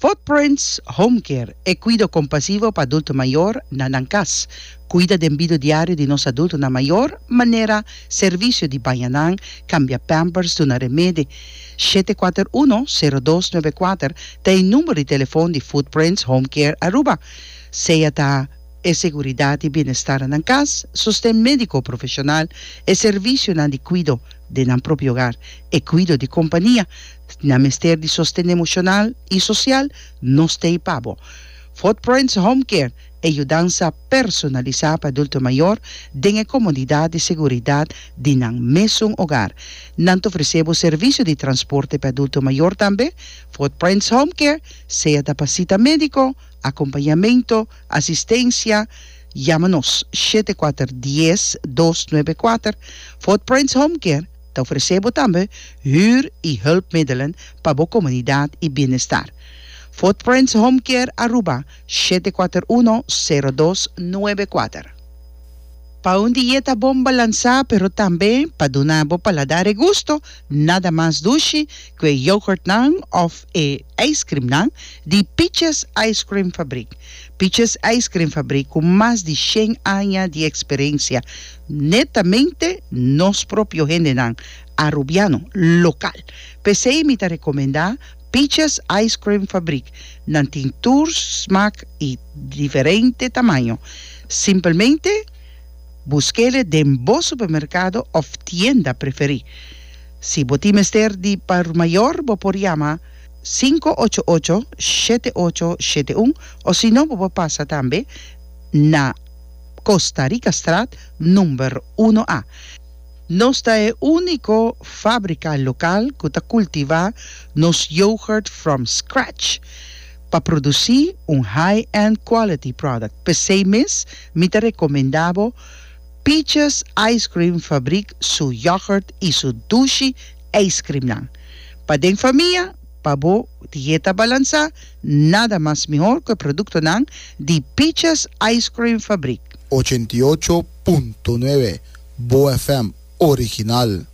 Footprints Home Care, e kuido kompasivo pa adulto mayor na nan kas. Kuida den bido diario di nos adultonan mayor, manera servisio di baña nan, kambia pampers, duna remedi. 741 0294 ta e number di telefon di Footprints Home Care Aruba. Sea ta e seguridat i bienestar na nan kas, sosten médiko profeshonal, e servisionan di kuido den nan propio hogar, e kuido di kompania. Nan mester di sosten emoshonal i sosial, nos t'ei pa bo. Footprints Home Care, e yudansa personalisá pa adulto mayor den e komodidat i seguridat di nan mesun hogar. Nan ta ofresé bo servisio di transporte pa adulto mayor tambe. Footprints Home Care, sea ta pa sita médiko, Acompañamento, asistencia, Yama nos, 7 4 10 294. Footprints Home Care ta ofrece bo tambe huur y hulpmiddelen pa bo comunidad y bienestar. Footprints Home Care Aruba, 741 0294. Pa un dieta bon balansa pero tambe pa duna bo paladar e gusto, nada mas dushi ku e yoghurtnan of e ijskrimnan di Peaches Ice Cream Fabriek. Peaches Ice Cream Fabriek ku mas di shen aña di eksperensia, netamente nos propio hendenan Arubiano, lokal. P'esei mi ta rekomendá Peaches Ice Cream Fabriek. Nan tin tur smak i diferente tamaño. Simpelmente busk'ele den bo supermerkado òf tienda preferí. Si bo tin mester di por mayor bo por yama 588 7871 o si no bo por pasa tambe na Costa Ricastraat number uno A. Nos ta e úniko fábrika lokal ku ta kultivá nos yoghurt from scratch pa produsí un high-end quality product. P'esei mes mi ta rekomendá bo Peaches Ice Cream Fabriek su yoghurt i su dushi ijskrimnan. Pa den famia, pa bo dieta balansá, nada mas mihor ku e produktonan di Peaches Ice Cream Fabriek. 88.9 Bo FM original.